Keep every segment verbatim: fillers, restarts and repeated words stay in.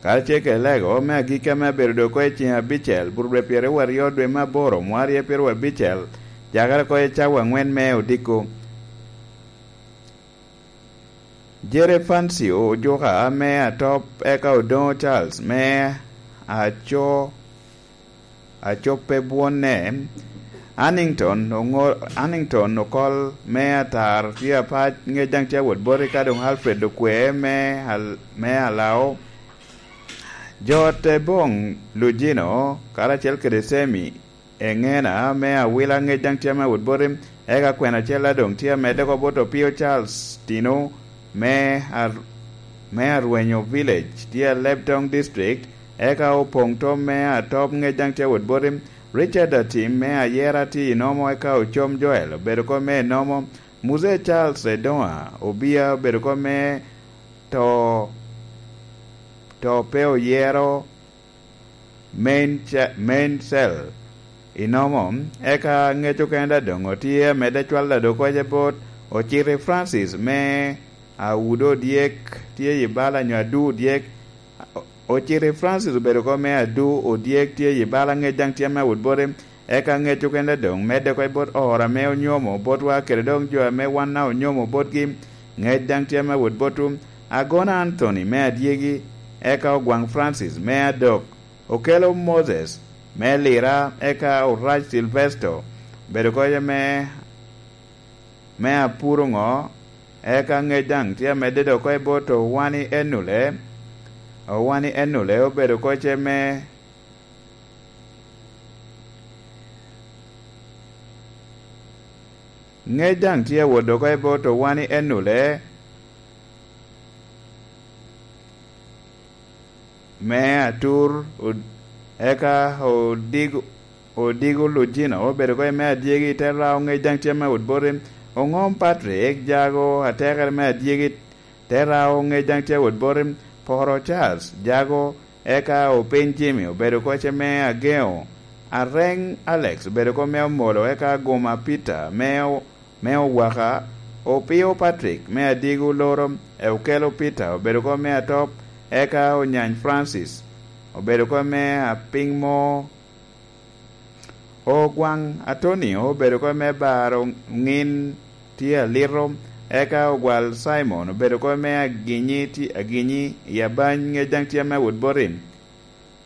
Karacel kede lego me agikki ame abedo doŋ oko i ceŋ abicel, burubwe pyeraryo aryo dwe me aboro, mwarie pyeraryo abicel, cakere oko i cawa aŋwen me odiko. Jere Fancio ojuka me atop, eka Odoŋo Charles me aco, acoppe bwonne. Hannington oŋo-, Hannington okol me atar tye apac, ŋec daŋ tye awot boti, ka doŋ Alfred Okwe me Al-, me Alao. Jo te boŋ Lujino karacel kede Semi Eŋena me Awila, ŋec daŋ tye ame awot boti, eka kwena acel a doŋ tye amedde oko bot Opio Charles Tino me Ar-, me Arwenyo Village, tye a Lebtong District, eka Opoŋ Tom me Atop, ŋec daŋ tye awot boti. Richard Atim me Ayera tye i Nomo, eka Ocom Joel obedo oko me Nomo. Muse Charles Edoŋa Obia obedo oko me To, To Pe Oyero, main ce-, main cell i Nomo, eka ŋec okene daŋ doŋ otye amedde cwalo doŋ oko bot Ociti Francis me Audo Odyek, tye i bala nyo Adu Odyek. O-, Ociti Francis obedo oko me Adu Odyek, tye i bala, ŋec daŋ tye ame awot boti, eka ŋec okene daŋ doŋ medde oko bot oro ame onyomo botwa kede doŋ jo ame wan a onyomo botgi, ŋec daŋ tye ame awot botwu. Agona Anthony me Adyegi, eka Ogwaŋ Francis me Adok, Okelo Moses me Lira, eka Orac Silvesto obedo oko me, me Apuro ŋo, eka ŋec daŋ tye amedde doŋ oko bot Owani Enule. Owani Enule obedo oko me, ŋec daŋ tye awot doŋ oko bot Owani Enule me Atur, od-, eka Odigo, Odigo Lujino obedo oko me Adyegi, te Rao, ŋec daŋ tye ame awot boti. Oŋom Patrick Jago, atekere me Adyegi, te Rao, ŋec daŋ tye awot boti. Poro Charles Jago, eka Opiny Jimmy obedo oko me Ageŋo. Areŋ Alex obedo oko me Omolo, eka Aguma Peter me o-, me Owaka. Opio Patrick me Adigo Loro, e Okelo Peter obedo oko me Atop, eka Onyany Francis obedo oko me Apiŋmo. Ogwaŋ Atonio obedo oko me Baro Ŋin tye Alito, eka Ogwal Simon obedo oko me Aginyi tye, Aginyi i Abany, ŋec daŋ tye ame awot boti.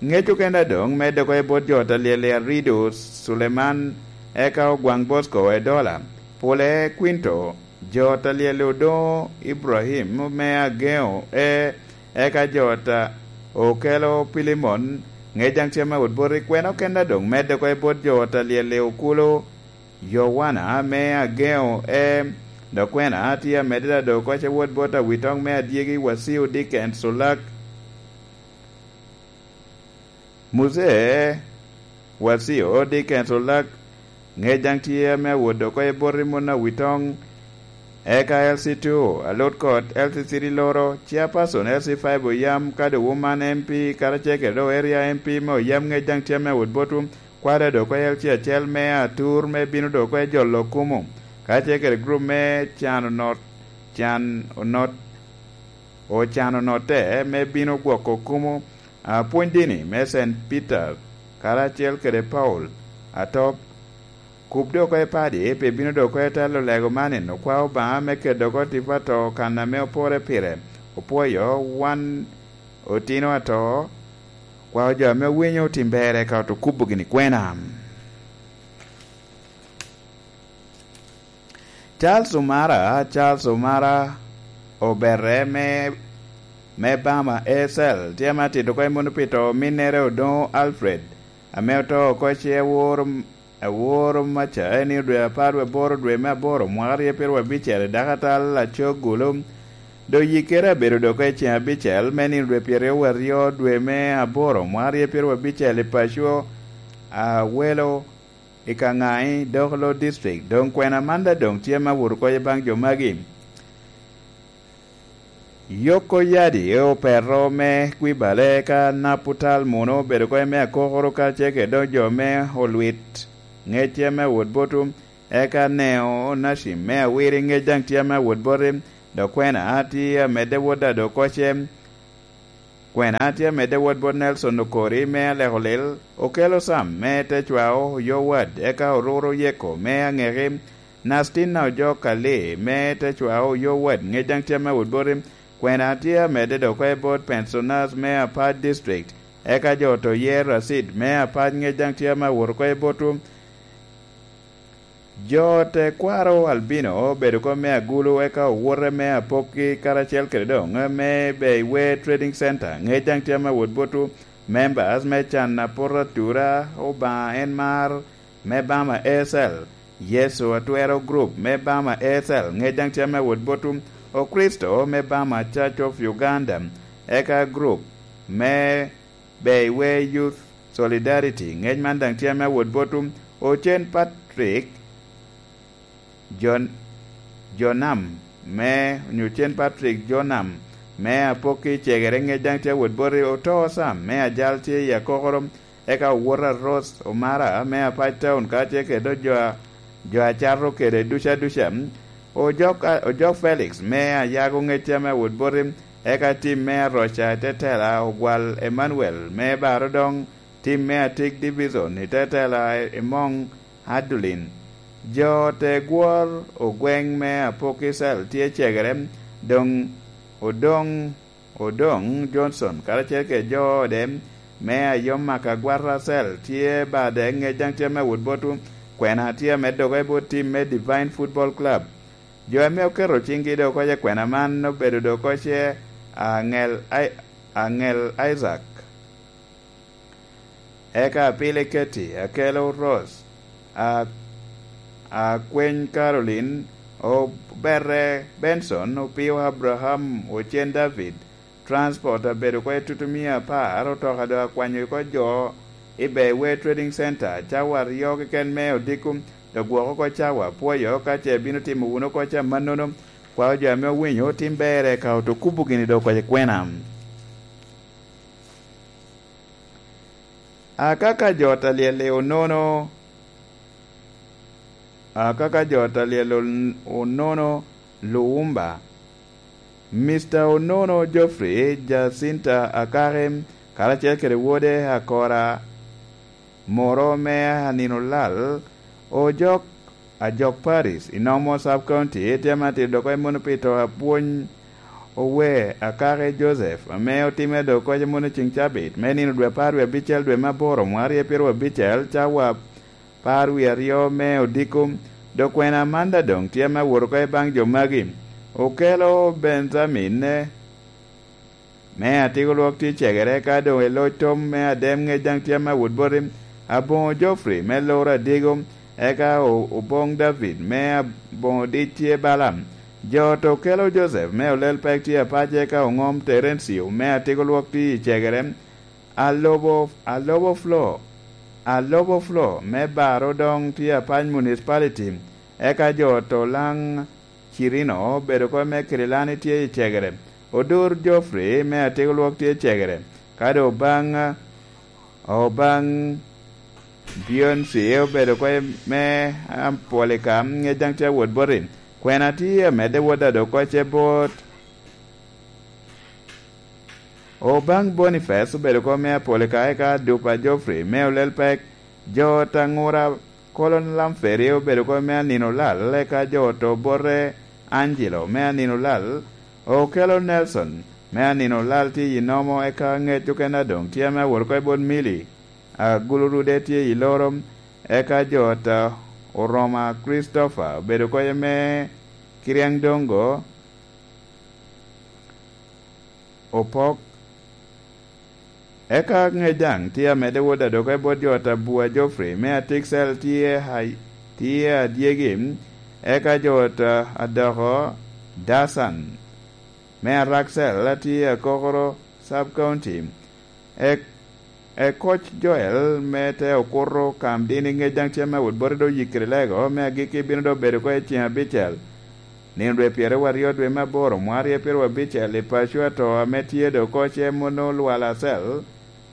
Ŋec okene daŋ doŋ medde oko bot jo ot alyel i Arido, Suleman, eka Ogwaŋ Bosco Edola, Pule Kwinto, jo ot alyel Odoŋo Ibrahim me Ageŋo, e, eka jo ot a Okelo Pilimon, ŋec daŋ tye ame awot boti. Kwena okene daŋ doŋ medde oko bot jo ot alyel Okulo Yowana me Ageŋo, e, dok kwena tye amedde daŋ doŋ oko wot bot Awitoŋ me Adyegi, Wasio Dickens Olak. Muse Wasio Dickens Olak, ŋec daŋ tye ame awot oko bot Rimon Awitoŋ, eka L C two Alut Kot, L C three Loro, Chairperson L C five Oyam, ka doŋ Woman M P, karacel kede doŋ Area M P me Oyam, ŋec daŋ tye ame awot botwu. Kwada doŋ oko L C acel me Atur me bino doŋ oko jolo kumo, karacel kede gurup me Can Onot, Can Onot, Ocan Onotte me bino gwoko kumo. Apwony dini me Saint Peter karacel kede Paul Atop, kub doŋ oko padi pi bino doŋ oko telo lego man, okwa Obaŋa me keto oko tipo ato kan ame opore pire. Opwoyo wan otino ato, kwa jo ame owinyo tim berre ka oto kubo gini kwena. Charles Omara, Charles Omara Oberre me, me Bama A C L, tye ame atito oko i Munupi to ominnere Odoŋo Alfred, ame oto oko ce awor, awor maca, en i dwe apar wie aboro, dwe me aboro, mwaka aryo pyeraryo abicel, i dakatal Acogulu. Doŋ yikkere abedo doŋ oko i ceŋ abicel, me nino dwe pyeraryo wie aryo, dwe me aboro, mwaka aryo pyeraryo abicel, i paco Awelo, i Kangaŋi, Dokolo District. Doŋ kwena man daŋ doŋ tye ame awot oko baŋ jo magi. Yoko Yadi, Opeto me Kwibale, ka Naputal Muno obedo oko me Akokoro, karacel kede doŋ jo me Olwit, ŋec tye ame awot botwu, eka Neo Onacim me Awiri, ŋec daŋ tye ame awot boti, dok kwena tye amedde wot daŋ doŋ oko ce. Kwena tye amedde wot bot Nelson Okori me Alekolil, Okello Sam me Tecwao Oyowad, eka Oruru Yeko me Aŋeki, Nastina Ojok Ali me Tecwao Oyowad, ŋec daŋ tye ame wot boti. Kwena tye amedde dok oko i bot Pensioners me Apac District, eka jo to yer Racid me Apac, ŋec daŋ tye ame wot oko i botwu. Jo tekwaro Albino obedo kom me Agulu, eka owote me Apokki karacel kede doŋ me Beiwe Trading Center, ŋec daŋ tye ame wot botwu. Members me can apot atura, Obaŋa en mar me Bama A S L, Yecu Atwero Group me Bama A S L, ŋec daŋ tye ame wot botwu. Okricito me Bama Church of Uganda, eka group me Beiwe Youth Solidarity, ŋec man daŋ tye ame wot botwu. Ocen Patrick Jon-, Jonam me, onyo Ocen Patrick Jonam me Apokki Cegere, ŋec daŋ tye wot boti. Oto Sam me Ajal tye i Akokoro, eka Owota Rose Omara me Apac Town, ka tye kede jo a, jo a cato kede duca duca. Ojok, Ojok Felix me Ayago, ŋec tye ame wot boti, eka tim me Aroca i Tetela, Ogwal Emmanuel me Barodoŋ, tim me Atik Division i Tetela, Emoŋ Adulin. Jo te gwor Ogweŋ me Apokki Cell tye Cegere, doŋ Odoŋ, Odoŋ Johnson karacel kede jo ode me Ayom Makagwata Cell tye bade, ŋec daŋ tye ame wot botwu. Kwena tye amedde oko i bot tim me Divine Football Club. Jo ame oketo ciŋgi doŋ oko i kwena man obedo doŋ oko ce Aŋel Ai-, Aŋel Isaac, eka Apili Keti, Akelo Rose, a, Akweny Caroline, Obere Benson, Opio Abraham, Ocen David. Transport abedo oko i tutumia apar, otoka doŋ akwanyo oko jo i Beiwe Trading Center, cawa aryo keken me odiko, dok gwoko oko cawa apwoyo, ka ce bino timo wunu oko ca mannono, kwao jo ame owinyo otim berre ka oto kubo gini doŋ oko i kwena. Akaka jo ta lyel i Onono, akaka jo ta lyel on-, Onono Luwumba, Mister Onono Geoffrey Jacinta Akaki, karacel kede wode Akora Moro me Anino Lal, Ojok Ajok Paris, i Nomo Sub County, tye ma tito dok oko i muno pi to apwony Owe Akaki Joseph, ame otimme dok oko i muno ceŋ cabit, me nino dwe apar wie abicel dwe me aboro, mwarie pyeraryo abicel, cawa apar wie aryo me odiko. Dok kwena Amanda doŋ tye ame awot oko i baŋ jo magi. Okelo Benjamin, me Atiko Lwok tye Cegere, ka doŋ i loc tom me Adem, ŋec daŋ tye ame awot boti. Aboŋo Geoffrey me Loro Adiko, eka O-, Oboŋ David me Aboŋo Dic tye Balaam. Jo to Okelo Joseph me Olel Pek tye Apac, eka Oŋom Terencio me Atiko Lwok tye i Cegere. Alobo, Alobo Flo, Alobo Flo me Baro doŋ tye Apac Municipality, eka jo to Laŋ Cirino obedo oko me Kirilani tye i Cegere. Odur Geoffrey me Atiko Lwok tye i Cegere. Ka doŋ Obaŋ, Obaŋ Beyonce obedo oko me Apolika, ŋec daŋ tye awot boti. Kwena tye amedde wot ado oko ce bot Obaŋ Boniface obedo oko me Apolika, eka Dupa Geoffrey me Olel Pek. Jo Taŋura Kolon Lamferi obedo oko me Anino Lal, eka jo to bote Angelo me Anino Lal, Okelo Nelson me Anino Lal tye i Nomo, eka ŋec okene adoŋ tye ame awot oko i bot Mili, Agulu Rude tye i Loro, eka jo ta Oroma Christopher obedo oko me Kiriaŋ Dongo, Opok. Eka ŋec daŋ tye amedde wot adok i bot jo ta Bua Geoffrey me Atiksel tye Hai-, tye Adyegi, eka jo ta Adoko Dasan me Araksel atye Akokoro Sub County. Ek-, Ekoc Joel me te okuto Kam Dini, ŋec daŋ tye me wot boti do yikkere lego me agikki bino do bedo oko i ceŋ abicel. Nino dwe pyeraryo aryo dwe me aboro, mwarie pyeraryo abicel, i paco ato ame tye do oko ce mono Lwal Acel,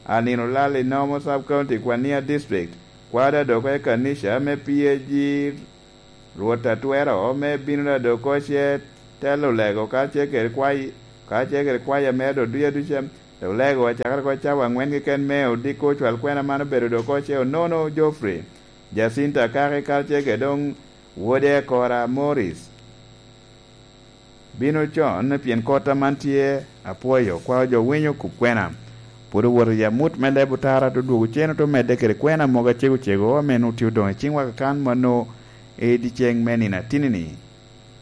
Anino Lal i Nomo Sub County, Kwania District, kwada do oko i kanica me P A G Rwot Atwero me bino ado oko ce telo lego kacel kede kwai-, kacel kede kwaya mere do duca duca. Olego acakere oko cawa angwen keken me odiko ocwal kwena man obedo dok oko ce onono Geoffrey, Jacinta Kaki karacel kede dong wode Kora Morris. Bino con pien kota man tye apwoyo kwao jo winyo kop kwena. Pwod owoto i amut me leb otara te dwogo cen ote medde kede kwena mogo acego cego ame nwoŋo tye odoŋ i ciŋwa kakan mano i dyeceŋ me nino atinni-ni.